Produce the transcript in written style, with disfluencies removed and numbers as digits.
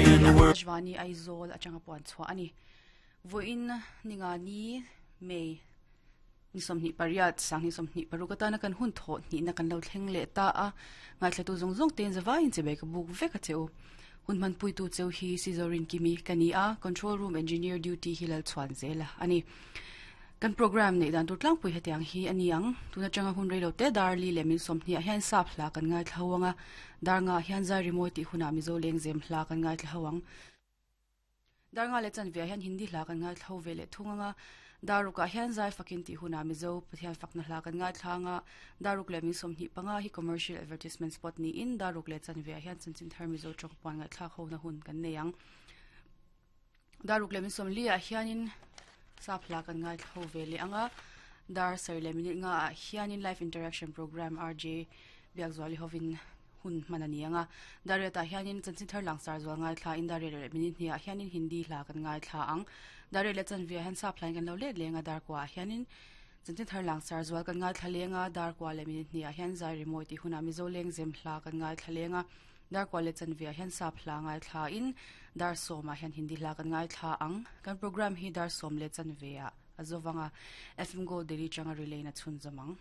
Akashvani Aizawl atanga puan chhuah a ni. Vawiin Ningani, May, ni 28, 2026 atana kan hun thawh hnihna kan lo thleng leh ta a, ngaithlatu zawng zawng tein zavaiin chibai ka buk vek a che u. Hun hmanpuitu cheu hi Sizorin Kimi ka ni a, Control Room Engineer Duty hi Lalchhuan Zela a ni. Kan programme neih dan tur tlangpui hetiang hi a ni ang. Tun atanga hun reilo te dar li leh min 20 ah hian sap hla kan ngaithla ho ang a, dar nga ah hian zai rimawi tih hunah Mizo lengzem hla kan ngaithla ho ang. Dar nga leh chanve ah hian Hindi hla kan ngaithla ho ve leh thung ang a, dar ruk ah hian zai fakin tih hunah Mizo Pathian fakna hla kan ngaithla ang a, dar ruk leh min 25 hi commercial advertisement spot niin dar ruk leh chanve ah hian chanchin thar Mizo tawngpuan ngaihthlak hona hun kan nei ang. Dar ruk leh min 40 ah hianin sap hla kan ngaithla ho ve leh ang a, dar sarih leh minute nga ah hianin live interaction program RJ Biakzuali hovin hun hman a ni ang a, Dariat ah hianin chanchin thar langsar zual ngaithla in Dariat leh minute hnih ah hianin Hindi hla kan ngaithla ang. Dariat leh chanve ah hian sap hlain kan lo let leng a, dar kua ah hianin chanchin thar langsar zual kan ngaithla leng a, dar kua leh minute hnih ah hian zai rimawi tih hunah Mizo lengzem hla kan ngaithla leng a. Dar kua leh chanve ah hian sap hla ngaithla in dar sawm ah hian Hindi hla kan ngaithla ang. Kan program hi dar sawm leh chanve ah a zo vang a, FM Gold Daily changa relay in a chhunzawm ang.